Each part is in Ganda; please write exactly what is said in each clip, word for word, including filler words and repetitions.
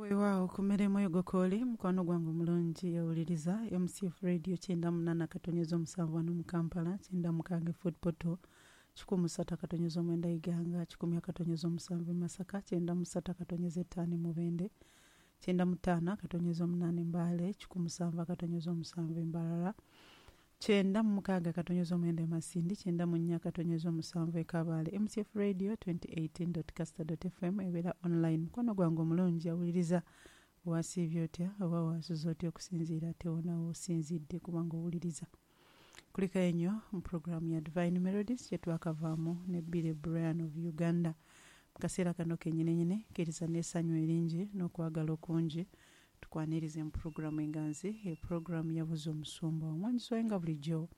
Weewaawo ku mirimu egokooli mukwano gwange omulungi owuliriza M C F Radio kyenda munaana akatonyeza omusanvu wano mu Kampala, kyenda mukaaga Fort Portal, kikumi ssatu akatonyeza omwenda Iganga, kikumi akatonyeza omusanvu Masaka, kyenda mu ssatu akatonyeza ettaano Mubende, kyenda mu ttaano akatonyeza omunaana Mbale, kikumi musanvu akatonyeza omusanvu Mbarara, kyenda mu mukaaga akatonyeza omwenda Masindi, kyenda mu nnya akatonyeza omusanvu e Kabale. M C F Radio twenty eighteen dot caster dot f m ebeera online. Mukwano gwange omulungi awuliriza, wasiibye otya oba wasuze otya okusinziira ate wona w'osinzidde kubanga owuliriza. Kulikayo nnyo mu puroguramu ya Divine Melodies gye twakavaamu ne Billy Brian of Uganda. Mu kaseera kano kennyininyini kkiriza n'essanyu eringi n'okwagala okungi tukwanirize mu puroguramu enganzi, epuroguramu yabuze omusumba omwanyisa waye nga bulijjo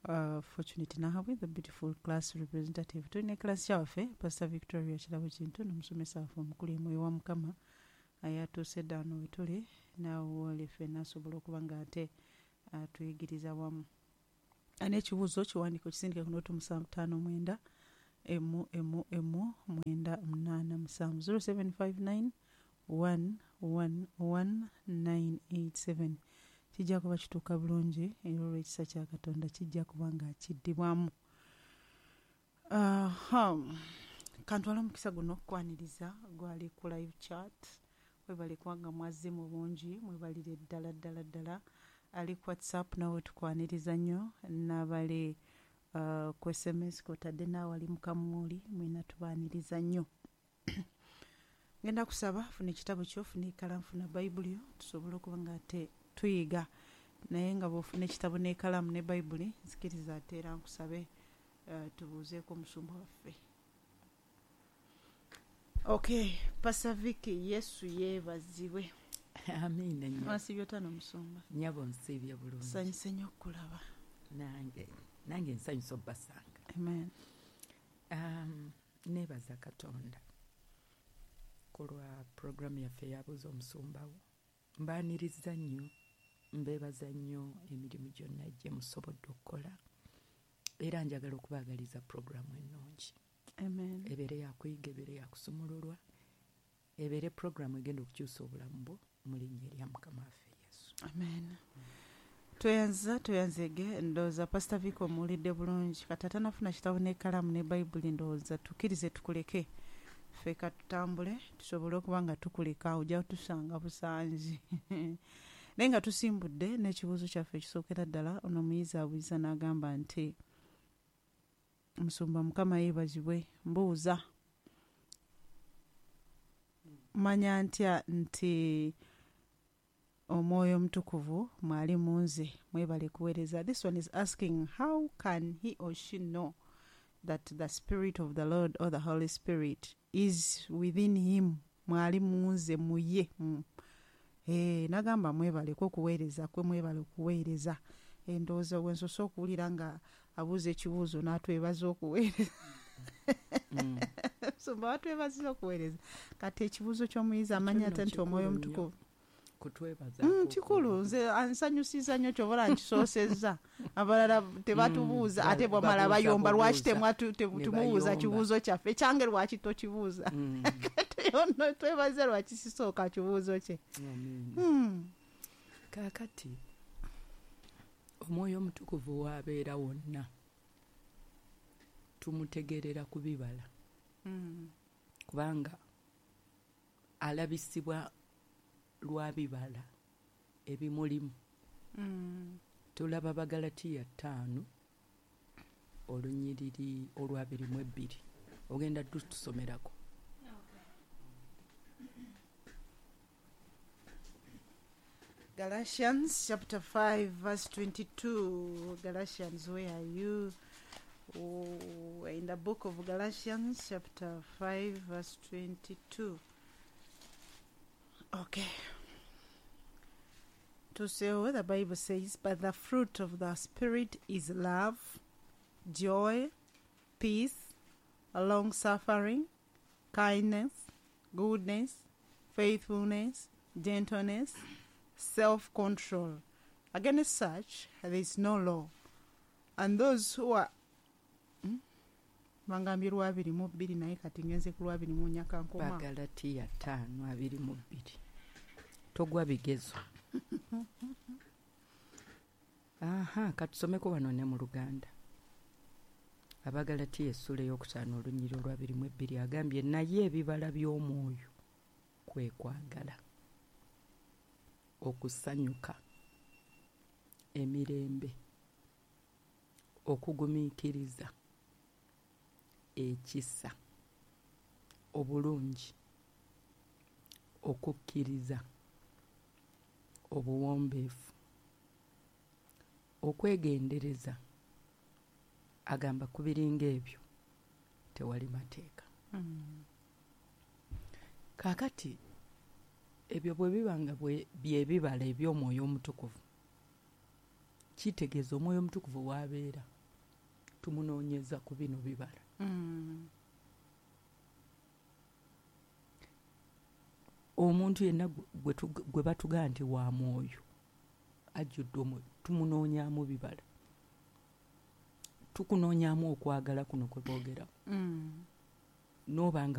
uh, Fortunate Nahabwe, the beautiful class representative. Tulina class kyaffe Pastor Victoria Kirabo Kintu n'omusomesa waffe omukulu Omwoyo wa Mukama ayatuuse dda wano we tuli, naawe oli ffenna asobola okuba ng'ate atuyigiriza wamu. N'ekibuuzo kiwandiiko kisindike ku nooti musanvu ttaano mwenda emu emu emu mwenda munaana musanvu zero seven five nine one one one nine eight seven. Kijja kuba kituuka bulungi era olw'ekisa kya Katonda kijja kuba nga kiddibwamu. Aha, kantwala omukisa guno okukwaniriza gwali ku live chat. Mwebale kubanga mwazze mu bungi, mwebalire ddala ddala ddala. Ali ku WhatsApp nawe tukwaniriza nnyo, n'abali uh, ku S M S kw'otadde naawe ali mu kamuuli, mwena tubaaniriza nnyo. Ngenda kusaba funa ekitabo kyo, funa ekkalaamu, funa Bayibuli yo, tusobole okuba nga ate tuyiga. Naye nga bw'ofuna ekitabo n'ekkalaamu ne Bayibuli, nzikiriza ate era nkusabe uh, tubuuzeeko omusumba waffe. Okay, Pastor Vicky, Yesu yeebazibwe. Amiina nnyo. Wasiibye otya n'omusumba? Nnyabo nsiibye bulungi. Nsanyuse nnyo okukulaba. Nange, nange nsanyuse obbasanga. Amen. Um, neebaza Katonda ku lwa puroguramu yaffe eyabuuza omusumba wo. Mbaaniriza nnyo, mbeebaza nnyo emirimu gyonna gye musobodde okukola. Era njagala okubaagaliza puroguramu ennungi. Amen. Ebeere yakuyiga, ebeere yakusumululwa, ebeere puroguramu egenda okukyusa obulamu bwo mu linnya erya Mukama waffe Yesu. Amen. Tweyanza, tweyanzege, ndowooza Pastor Vicky omuwulidde bulungi. Kati atanafuna kitabo n'ekkalaamu ne Bayibuli, ndowooza tukkirize tukuleke. Ffe ka tutambule tusobole okuba nga tukuleka, ojja kutusanga busangi. Naye nga tusimbudde n'ekibuuzo kyaffe ekisookera ddala, ono omuyizi abuuza n'agamba nti, Musumba Mukama yeebazibwe, mbuuza manya ntya nti Omwoyo Omutukuvu mwali mu nze, mwebale kuweereza. This one is asking, how can he or she know that the Spirit of the Lord or the Holy Spirit is within him? Mwali mu nze, mu ye. Mm. Eh, nagamba mwebale ko kuweereza kwe, mwebale okuweereza. Endowooza we nsoose okuwulira nga abuuza ekibuuzo n'atwebaza okuweereza. Mm. Musumba watwebaziza okuweereza. Kati ekibuuzo ky'omuyizi amanya ate nti Omwoyo Omutukuvu kutwebaza Mm, kikulu. Nze ansanyusiza nnyo ky'oba nkisoosezza. Abalala tebatubuuza, Mm, ate bwamala babuuza, bayomba, lwaki bubuuza. temwatu-, Ne tumubuuza bayomba. kibuuzo kyaffe? Ekyange lwaki tokibuuza? Mm. Kati ono twebaze lwaki sisooka kibuuzo kye. Amen. Mm. Kaakati Omwoyo Omutukuvu w'abeera wonna tumutegeerera ku bibala. Mm. Kubanga alabisibwa lwa bibala ebimulimu. Mm. Tulaba Bagalatiya ttaano olunyiriri olw'abiri mu ebbiri. Ogenda tutusomerako. Galatians chapter five verse twenty-two. Galatians, where are you? Oh, in the book of Galatians chapter five verse twenty-two. Okay. To say what the Bible says, but the fruit of the Spirit is love, joy, peace, long suffering, kindness, goodness, faithfulness, gentleness, self-control. Against such there is no law. And those who are hmm? Bangambye lwabiri mu bbiri, naye kati ngenze ku lwabiri mu nnya, kankoma. Bagalatiya ttaano abiri mu bbiri. Togwa bigezo. Aha, katusomeko wano ne mu Luganda. Abagalatiya essula ey'okutaano olunyiriri olwabiri mu ebbiri agambye, naye ebibala by'omwoyo kwe kwagala, okusanyuka, emirembe, okugumiikiriza, ekisa, obulungi, okukkiriza, obuwombeefu, okwegendereza. Agamba ku biringa ebyo tewali mateeka. Mm. Kaakati ebyo bwe biba nga bwe- bye bibala eby'omwoyo omutukuvu, kitegeeza omwoyo omutukuvu w'abeera tumunoonyeza ku bino bibala. Mm. Omuntu yenna gwe- gwe tug- gwe batugaa nti wa mwoyo, ajjudde omwoyo, tumunoonyaamu bibala. Tukunoonyaamu okwagala kuno kwe boogerako. Mm. N'oba nga